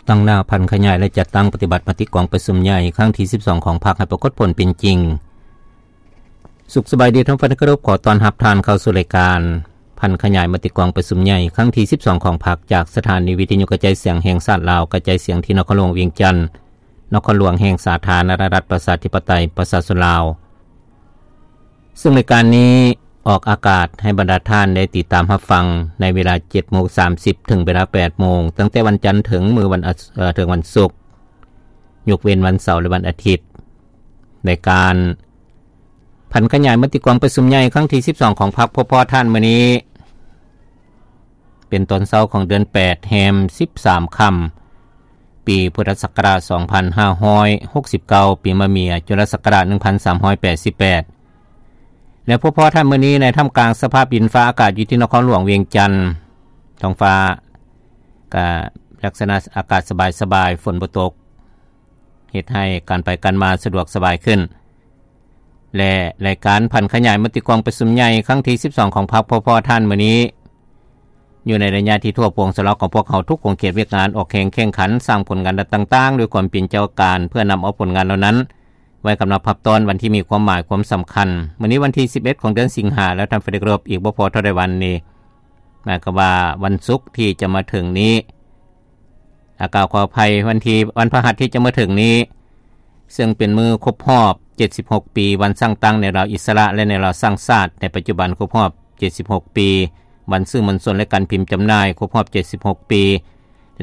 ຕັ້ງໜ້າຜັນຂະຫຍາຍ ແລະ ຈັດຕັ້ງປະຕິບັດມະຕິກອງປະຊຸມໃຫຍ່ຄັ້ງທີສິບສອງຂອງພັກໃຫ້ປາກົດຜົນເປັນຈິງ. ສຸກສະບາຍດີທ່ານຜູ້ຟັງທີ່ເຄົາລົບ, ຂໍຕ້ອນຮັບທ່ານເຂົ້າສູ່ລາຍການຜັນຂະຫຍາຍມະຕິກອງປະຊຸມໃຫຍ່ຄັ້ງທີສິບສອງຂອງພັກ ຈາກສະຖານີວິທະຍຸກະຈາຍສຽງແຫ່ງຊາດລາວ, ກະຈາຍສຽງທີ່ນະຄອນຫຼວງວຽງຈັນ, ນະຄອນຫຼວງແຫ່ງສາທາລະນະລັດປະຊາທິປະໄຕປະຊາຊົນລາວ. ເຊິ່ງລາຍການນີ້ອອກອາກາດໃຫ້ບັນດາທ່ານໄດ້ຕິດຕາມຮັບຟັງໃນເວລາເຈັດໂມງສາມສິບ ເຖິງເວລາແປດໂມງ, ຕັ້ງແຕ່ວັນຈັນເຖິງມື້ວັນອາ ເອີ ເຖິງວັນສຸກ, ຍົກເວັ້ນວັນເສົາ ແລະ ວັນອາທິດ. ລາຍການຜັນຂະຫຍາຍມະຕິກອງປະຊຸມໃຫຍ່ຄັ້ງທີສິບສອງຂອງພັກ ພົບພໍ້ທ່ານມື້ນີ້ ເປັນຕອນເຊົ້າຂອງເດືອນແປດ ແຮມສິບສາມຄ່ຳ ປີພຸດທະສັກກະລາດສອງພັນຫ້າຮ້ອຍຫົກສິບເກົ້າ, ປີມະເມຍ ຈຸລະສັກກະລາດໜຶ່ງພັນສາມຮ້ອຍແປດສິບແປດ ແລະ ພົບພໍ້ທ່ານມື້ນີ້ໃນທ່າມກາງສະພາບດິນຟ້າອາກາດຢູ່ທີ່ນະຄອນຫຼວງວຽງຈັນ. ທ້ອງຟ້າກະລັກສະນະອາກາດສະບາຍໆ, ຝົນບໍ່ຕົກ, ເຮັດໃຫ້ການໄປການມາສະດວກສະບາຍຂຶ້ນ. ແລະ ລາຍການຜັນຂະຫຍາຍມະຕິກອງປະຊຸມໃຫຍ່ຄັ້ງທີສິບສອງຂອງພັກ ພົບພໍ້ທ່ານມື້ນີ້ ຢູ່ໃນໄລຍະທີ່ທົ່ວປວງຊາວລາວຂອງພວກເຮົາທຸກຂົງເຂດວຽກງານອອກແຮງແຂ່ງຂັນສ້າງຜົນງານດ້ານຕ່າງໆ ດ້ວຍຄວາມເປັນເຈົ້າການ ເພື່ອນຳເອົາຜົນງານເຫຼົ່ານັ້ນໄວ້ກຳລັບຮັບຕ້ອນວັນທີ່ມີຄວາມໝາຍຄວາມສຳຄັນ. ມື້ນີ້ວັນທີສິບເອັດຂອງເດືອນສິງຫາ ແລ້ວທ່ານທີ່ເຄົາລົບ, ອີກບໍ່ພໍເທົ່າໃດວັນນີ້ ໝາຍຄວາມວ່າວັນສຸກທີ່ຈະມາເຖິງນີ້ ອາ ກາວຂໍອະໄພ, ວັນທີ ວັນພະຫັດທີ່ຈະມາເຖິງນີ້ ເຊິ່ງເປັນມື້ຄົບຮອບເຈັດສິບຫົກປີ ວັນສ້າງຕັ້ງແນວລາວອິດສະຫຼະ ແລະ ແນວລາວສ້າງຊາດ, ໃນປັດຈຸບັນຄົບຮອບເຈັດສິບຫົກປີ ວັນສື່ມວນຊົນ ແລະ ການພິມຈຳໜ່າຍ ຄົບຮອບເຈັດສິບຫົກປີ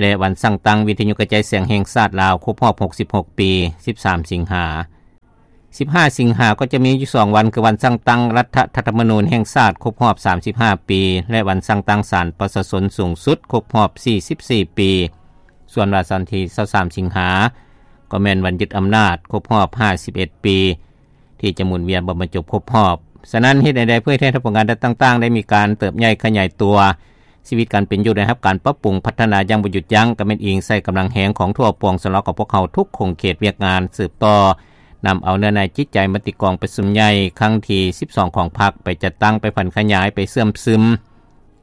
ແລະ ວັນສ້າງຕັ້ງວິທະຍຸກະຈາຍສຽງແຫ່ງຊາດລາວ ຄົບຮອບຫົກສິບຫົກປີ ສິບສາມສິງຫາ. ສິບຫ້າສິງຫາກໍຈະມີຢູ່ສອງວັນ ຄືວັນສ້າງຕັ້ງລັດຖະທຳມະນູນແຫ່ງຊາດ ຄົບຮອບສາມສິບຫ້າປີ ແລະ ວັນສ້າງຕັ້ງສານປະຊາຊົນສູງສຸດ ຄົບຮອບສີ່ສິບສີ່ປີ. ສ່ວນວັນເສົາທີຊາວສາມສິງຫາ ກໍແມ່ນວັນຍຶດອຳນາດ ຄົບຮອບຫ້າສິບເອັດປີ ທີ່ຈະໝູນວຽນບໍ່ບັນຈົບຄົບຮອບ. ສະນັ້ນ ເຮັດແນວໃດເພື່ອເຮັດໃຫ້ຜົນງານດ້ານຕ່າງໆ ໄດ້ມີການເຕີບໃຫຍ່ຂະຫຍາຍຕົວ, ຊີວິດການເປັນຢູ່ໄດ້ຮັບການປັບປຸງພັດທະນາຢ່າງບໍ່ຢຸດຢັ້ງ, ກໍແມ່ນອີງໃສ່ກຳລັງແຮງຂອງທົ່ວປວງຊາວລາວຂອງພວກເຮົາທຸກຂົງເຂດວຽກງານ ສືບຕໍ່ນຳເອົາເນື້ອໃນຈິດໃຈມະຕິກອງປະຊຸມໃຫຍ່ຄັ້ງທີສິບສອງຂອງພັກ ໄປຈັດຕັ້ງ, ໄປຜັນຂະຫຍາຍ, ໄປເຊື່ອມຊຶມ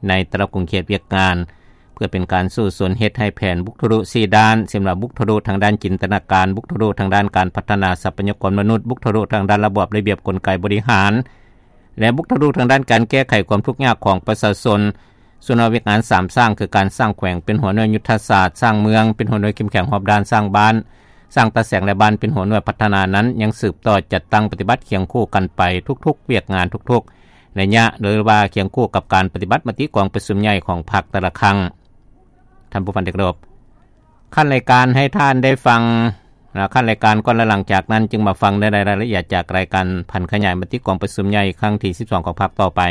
ໃນແຕ່ລະຂົງເຂດວຽກງານ ເພື່ອເປັນການສູ້ຊົນເຮັດໃຫ້ແຜນບຸກທະລຸສີ່ດ້ານ, ເຊັ່ນວ່າ ບຸກທະລຸທາງດ້ານຈິນຕະນາການ, ບຸກທະລຸທາງດ້ານການພັດທະນາຊັບພະຍາກອນມະນຸດ, ບຸກທະລຸທາງດ້ານລະບອບລະບຽບກົນໄກບໍລິຫານ ແລະ ບຸກທະລຸທາງດ້ານການແກ້ໄຂຄວາມທຸກຍາກຂອງປະຊາຊົນ. ສ່ວນວ່າວຽກງານສາມສ້າງ ຄືການສ້າງແຂວງເປັນຫົວໜ່ວຍຍຸດທະສາດ, ສ້າງເມືອງເປັນຫົວໜ່ວຍເຂັ້ມແຂງຮອບດ້ານ, ສ້າງບ້ານ, ສ້າງຕາແສງ ແລະ ບ້ານເປັນຫົວໜ່ວຍພັດທະນານັ້ນ ຍັງສືບຕໍ່ຈັດຕັ້ງປະຕິບັດຄຽງຄູ່ກັນໄປທຸກໆວຽກງານທຸກໆໄລຍະ ຫຼືວ່າຄຽງຄູ່ກັບການປະຕິບັດມະຕິກອງປະຊຸມໃຫຍ່ຂອງພັກແຕ່ລະຄັ້ງ. ທ່ານຜູ້ຟັງທີ່ເຄົາລົບ, ຂັ້ນລາຍການໃຫ້ທ່ານໄດ້ຟັງ ແລະ ຂັ້ນລາຍການກ່ອນ ແລະ ຫຼັງຈາກນັ້ນຈຶ່ງມາຟັງໃນລາຍລະອຽດຈາກລາຍການຜັນຂະຫຍາຍມະຕິກອງປະຊຸມໃຫຍ່ຄັ້ງທີສິບສອງຂອງພັກຕໍ່ໄປ.